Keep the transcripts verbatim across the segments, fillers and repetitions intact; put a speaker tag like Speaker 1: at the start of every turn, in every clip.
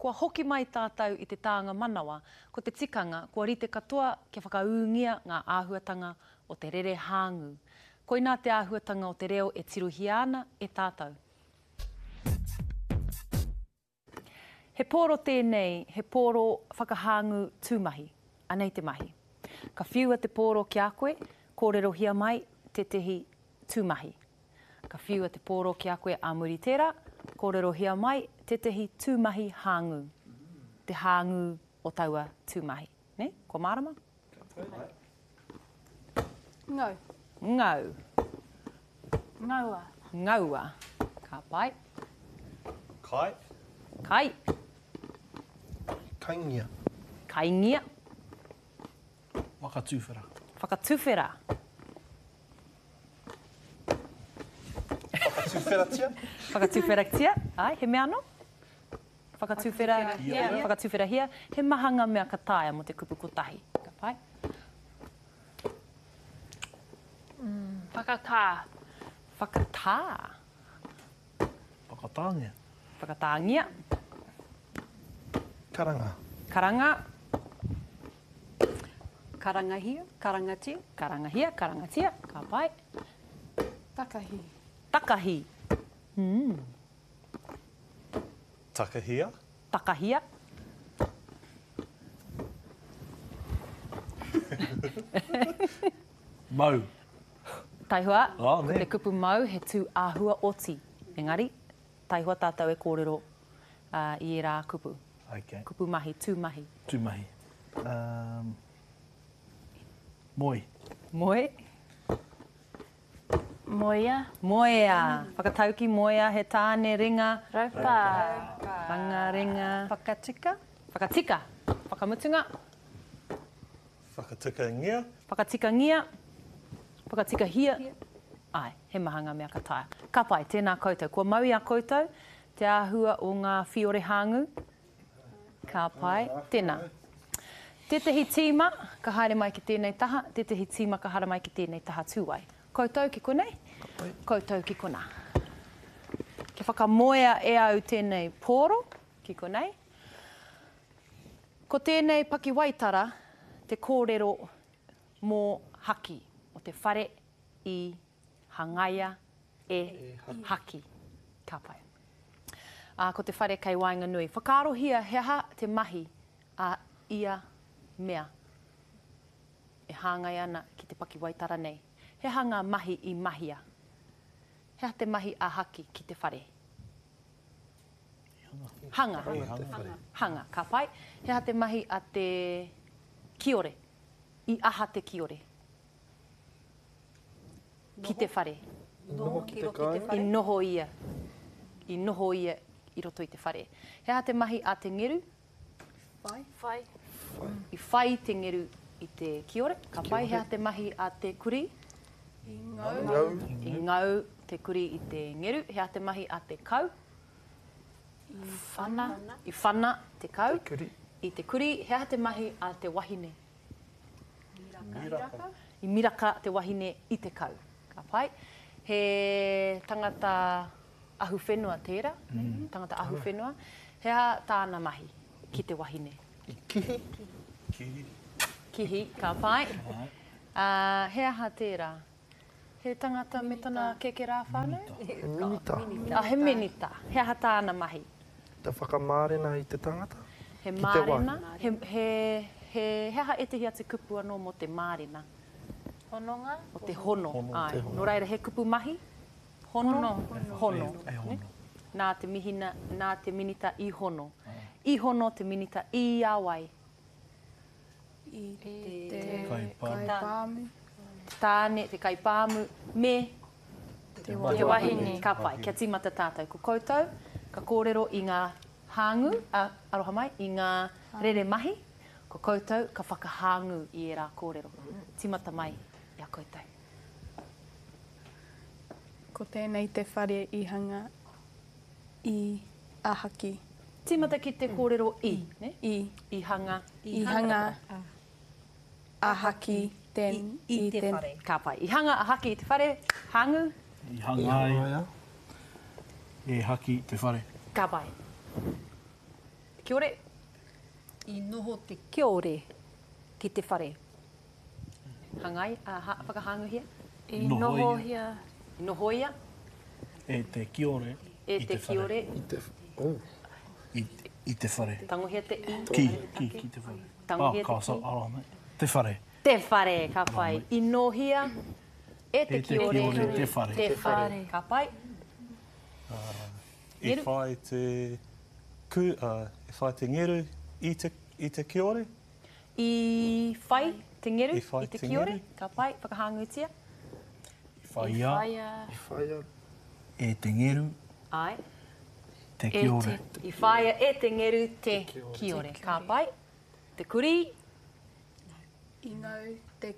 Speaker 1: Kua hoki mai tātou i te tānga manawa, ko te tikanga kua rite katoa kia whakaūngia ngā āhuatanga o te rere hāngū. Koinā te āhuatanga o te reo e tirohia ana e tātou. He pōro tēnei, he pōro whakahāngū tūmahi. Anei te mahi. Ka whiua te pōro ki a koe, kōrerohia mai tētehi tūmahi. Ka whiua te pōro ki a koe ā muri tērā, kōrerohia mai tētehi tūmahi hāngū. Te hāngū o taua tūmahi. Ne? Kua mārama?
Speaker 2: Ngau.
Speaker 1: Ngau.
Speaker 2: Ngaua.
Speaker 1: Ngaua. Ka pai.
Speaker 3: Kai.
Speaker 1: Kai.
Speaker 4: Kaingia.
Speaker 1: Kaingia.
Speaker 5: Whakatuwhera.
Speaker 1: Whakatuwhera.
Speaker 4: Whakatuwheratia.
Speaker 1: Whakatuwheratia. Ai, he mea anō? Whakatuwhera, whakatuwherahia. He maha ngā mea ka taea mō te kupu kotahi. Ka pai.
Speaker 2: Mm. Whakatā.
Speaker 1: Whakatā.
Speaker 5: Whakatāngia.
Speaker 1: Whakatāngia.
Speaker 4: Karanga.
Speaker 1: Karanga.
Speaker 6: Karangahia, karangatia.
Speaker 1: Karangahia, karangatia. Ka pai.
Speaker 2: Takahi.
Speaker 1: Takahi. Mm.
Speaker 3: Takahia.
Speaker 1: Takahia.
Speaker 5: Mau.
Speaker 1: Taihoa,
Speaker 5: oh,
Speaker 1: ko te kupu mau he tū āhua oti. Engari, taihoa tātou e kōrero uh, i ērā kupu.
Speaker 5: Okay.
Speaker 1: Kupu mahi, tū mahi.
Speaker 5: Tū mahi. Um, moe.
Speaker 1: Moe.
Speaker 2: Moea.
Speaker 1: Moea. Whakatauki moea, he tāne, ringa.
Speaker 2: Raupa.
Speaker 1: Ranga, ringa.
Speaker 6: Whakatika.
Speaker 1: Whakatika. Whakamutunga.
Speaker 3: Whakatikangia.
Speaker 1: Whakatikangia. Whakatikahia. Ai, he maha ngā mea ka taea. Ka pai, tēnā koutou. Kua mau i a koutou te āhua o ngā whiore hāngū. Ka pai, tēnā. Tētehi tīma ka haere mai ki tēnei taha, tētehi tīma ka haere mai ki tēnei taha tūwai. Koutou ki konei, koutou ki konā. Kia whakamoea e au tēnei pōro ki konei. Ko tēnei pakiwaitara te kōrero mō Haki, o te whare i hangaia e Haki. Ka pai. Ā, ko te whare kei waenganui. Whakaarohia he aha te mahi a ia mea e hāngai ana ki te pakiwaitara nei. He aha ngā mahi i mahia? He aha te mahi a Haki ki te whare? Hanga.
Speaker 4: Hanga.
Speaker 1: Hanga. Ka pai. He aha te mahi a te kiore? I aha te kiore? Ki te whare.
Speaker 4: Noho ki te kāinga.
Speaker 1: I noho ia. I noho ia i roto i te whare. He aha te mahi a te ngeru?
Speaker 2: Whai. Whai.
Speaker 1: I whai te ngeru i te kiore. Ka pai. He aha te mahi a te kuri?
Speaker 2: I ngau.
Speaker 4: Ngau.
Speaker 1: I ngau te kuri i te ngeru. He aha te mahi a te kau?
Speaker 2: I whana.
Speaker 1: I whana te kau.
Speaker 4: Te kuri.
Speaker 1: I te kuri. He aha te mahi a te wahine?
Speaker 3: Miraka.
Speaker 1: I miraka te wahine i te kau. Ka pai. He tangata ahuwhenua tērā. Mm. Tangata ahuwhenua. He aha tāna mahi ki te wahine?
Speaker 4: I kihi.
Speaker 3: Kihi.
Speaker 1: Kihi, ka pai. Uh, he aha tērā? He tangata me tana kekerā whānau?
Speaker 4: He minita.
Speaker 1: Ah, he minita. He aha tāna mahi?
Speaker 4: Te whakamārena i te tangata?
Speaker 1: He
Speaker 4: Ki te
Speaker 1: mārena. He, he, he, he aha ētehi atu kupu anō mō te mārena?
Speaker 2: Hononga.
Speaker 1: O te hono.
Speaker 3: Hono.
Speaker 1: Ai.
Speaker 4: Te hono.
Speaker 1: Nō reira, he kupu mahi? Hono. Hono.
Speaker 5: E hono.
Speaker 1: Nā te mihina, nā te minita i hono. I hono te minita i a wai?
Speaker 2: I te
Speaker 5: Kaipāmu.
Speaker 2: kaipāmu.
Speaker 1: Tāne, te kaipāmu, me
Speaker 2: Te wahine.
Speaker 1: Ka pai, kia tīmata tātou. Ko koutou, ka kōrero i ngā hāngū, a, aroha mai, i ngā rere mahi, ko koutou ka whakahāngū i ērā kōrero. Tīmata mai i a koutou.
Speaker 2: Ko tēnei te whare i hanga i a Haki.
Speaker 1: Tīmata ki te kōrero i, ne?
Speaker 2: I.
Speaker 1: I hanga.
Speaker 2: I hanga a Haki ten,
Speaker 6: I, i te whare.
Speaker 1: Ka pai. I hanga a Haki i te whare, hāngū.
Speaker 5: I hangaia e Haki te whare.
Speaker 1: Ka pai. Kiore.
Speaker 6: I noho te kiore ki te whare.
Speaker 1: Hangai, uh, ha, whakahānguhia.
Speaker 2: I
Speaker 5: Nohoia.
Speaker 2: nohoia.
Speaker 1: I nohoia
Speaker 5: E te kiore.
Speaker 1: e
Speaker 5: I
Speaker 1: te
Speaker 5: te whare.
Speaker 1: kiore.
Speaker 4: I te, oh,
Speaker 5: I, i te whare.
Speaker 1: Tangohia te i.
Speaker 5: Ki, ki, ki te whare.
Speaker 1: Tangohia
Speaker 5: oh, ka
Speaker 1: te
Speaker 5: so,
Speaker 1: ki.
Speaker 5: ara mai. Te whare.
Speaker 1: Te whare, ka pai. I nohia e te
Speaker 5: E te
Speaker 1: kiore.
Speaker 5: kiore te whare.
Speaker 1: Te whare. Ka pai.
Speaker 3: I
Speaker 1: Ngeru.
Speaker 3: whai te, ku, uh, i whai te ngeru i te, i te kiore.
Speaker 1: I whai te ngeru
Speaker 3: I whai
Speaker 1: i te
Speaker 3: te
Speaker 1: kiore.
Speaker 3: ngeru.
Speaker 1: Ka pai, whakahāngutia.
Speaker 5: I whaia
Speaker 2: Whaia.
Speaker 4: i whaia
Speaker 5: e te ngeru
Speaker 1: Ai.
Speaker 5: te
Speaker 2: E
Speaker 5: kiore.
Speaker 2: te
Speaker 1: I whaia e te ngeru te
Speaker 4: Te kiore.
Speaker 1: kiore. Ka pai. Te kuri.
Speaker 2: I ngau te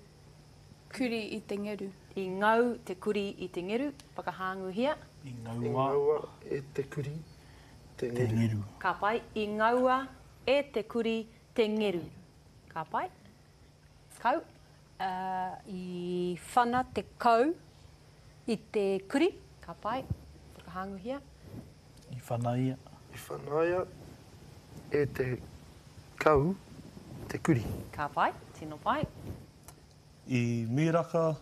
Speaker 2: kuri i te ngeru.
Speaker 1: I ngau te kuri i te ngeru. Whakahānguhia.
Speaker 5: I
Speaker 4: I
Speaker 5: ngaua
Speaker 4: ngaua e te kuri te
Speaker 5: te
Speaker 4: ngeru.
Speaker 5: ngeru.
Speaker 1: Ka pai. I ngaua e te kuri te ngeru. Ka pai. Kau.
Speaker 6: Uh, I whana te kau i te kuri.
Speaker 1: Ka pai. Whakahānguhia.
Speaker 5: I whanaia.
Speaker 4: I whanaia e te kau te kuri.
Speaker 1: Ka pai. Tino pai.
Speaker 3: I miraka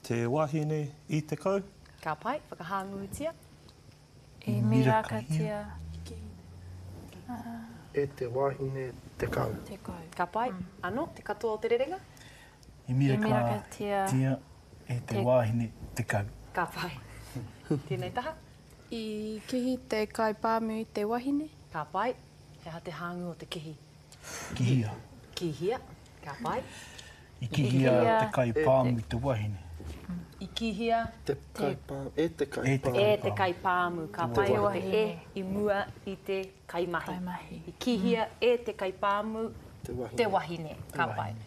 Speaker 3: te wahine i te kau.
Speaker 1: Ka pai. Whakahāngutia.
Speaker 2: I mirakatia
Speaker 4: E te wahine te kau.
Speaker 2: te kau.
Speaker 1: Ka pai. Ano, te katoa o te rerenga.
Speaker 5: I
Speaker 2: I
Speaker 5: miraka
Speaker 2: mirakatia
Speaker 5: tia e te
Speaker 2: te-
Speaker 5: wāhine te kau.
Speaker 1: Ka pai. Tēnei taha.
Speaker 2: I kihi te kaipāmu i te wahine.
Speaker 1: Ka pai. He aha te hāngu o te kihi.
Speaker 5: Kihia.
Speaker 1: Kihia. Ka pai.
Speaker 5: I kihia
Speaker 2: Kihia.
Speaker 5: te kai pāmu i te wahine.
Speaker 1: I kihia
Speaker 4: Te kaipāmu, e te
Speaker 5: E te
Speaker 4: kaipāmu.
Speaker 1: e te kaipāmu. Ka
Speaker 5: Te
Speaker 1: pai o te
Speaker 2: wahine.
Speaker 1: e i mua i te kaimahi.
Speaker 2: Kaimahi.
Speaker 1: I kihia e te kaipāmu
Speaker 4: Te wahine.
Speaker 1: te wahine. Ka pai.
Speaker 5: wahine.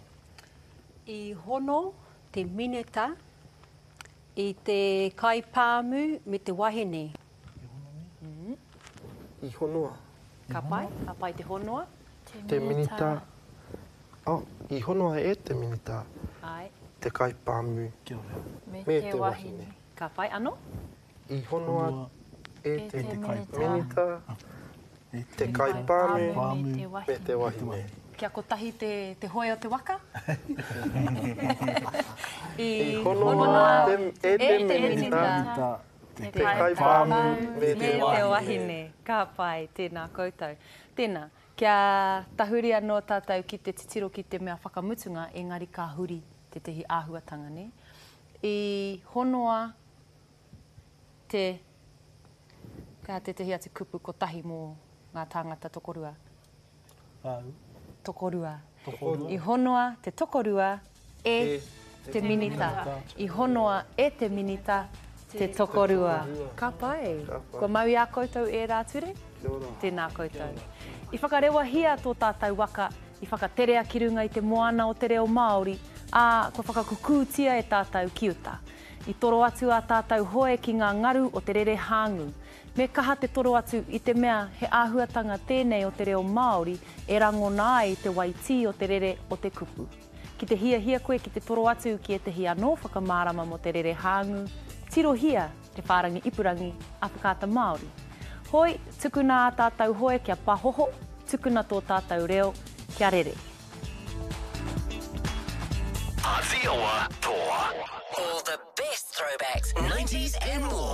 Speaker 6: I hono te minita i te kaipāmu me te wahine.
Speaker 4: I honoa.
Speaker 1: Ka pai. Ka pai te honoa.
Speaker 4: Te minita. Oh, i honoa e te minita
Speaker 1: Ai.
Speaker 4: te kaipāmu
Speaker 5: Kia ora.
Speaker 2: Me,
Speaker 4: me te wahine.
Speaker 1: Ka pai ano.
Speaker 4: I honoa
Speaker 5: Honoa
Speaker 4: e
Speaker 2: E
Speaker 4: te
Speaker 2: te
Speaker 5: te
Speaker 2: minita.
Speaker 4: minita
Speaker 5: e
Speaker 4: te kaipāmu
Speaker 5: Pāmu.
Speaker 2: Me te
Speaker 4: me
Speaker 2: wahine.
Speaker 4: te wahine.
Speaker 1: Kia kotahi te, te hoe o te waka. I
Speaker 4: I honoa te, e te
Speaker 1: e te
Speaker 4: minita
Speaker 5: Minita te
Speaker 4: te kaipāmu me
Speaker 1: Me
Speaker 4: te
Speaker 1: te
Speaker 4: wahine.
Speaker 1: wahine. Ka pai, tēnā koutou. Tēnā, kia tahuri anō tātou ki te titiro ki te mea whakamutunga, engari ka huri tētehi āhuatanga, ne? I honoa te, ka tētehi atu kupu kotahi mō ngā tāngata tokorua.
Speaker 5: Pāu.
Speaker 1: Tokorua.
Speaker 5: Tokorua.
Speaker 1: I honoa te tokorua e
Speaker 4: E
Speaker 1: te minita. I honoa e te minita te tokorua. Ka pai.
Speaker 4: Ka pai.
Speaker 1: Kua mau i a koutou e rā ture?
Speaker 4: Kia ora.
Speaker 1: Tēnā koutou. I whakarewahia tō tātou waka, i whakaterea ki runga i te moana o te reo Māori, ā, kua whakakukūtia e tātou ki uta. I toro atu a tātou hoe ki ngā ngaru o te rere hāngu. Me kaha te toro atu i te mea he āhuatanga tēnei o te reo Māori e rangona ai te waitī o te rere o te kupu. Ki te hiahia koe ki te toro atu ki ētehi anō whakamārama mō te rere hāngu, tirohia te whārangi ipurangi a Whakaata Māori. Hoi, tukuna a tātou hoe kia pahoho, tukuna tō tātou reo kia rere.
Speaker 7: Aotearoa Toa.
Speaker 8: All the best throwbacks, nineties and more.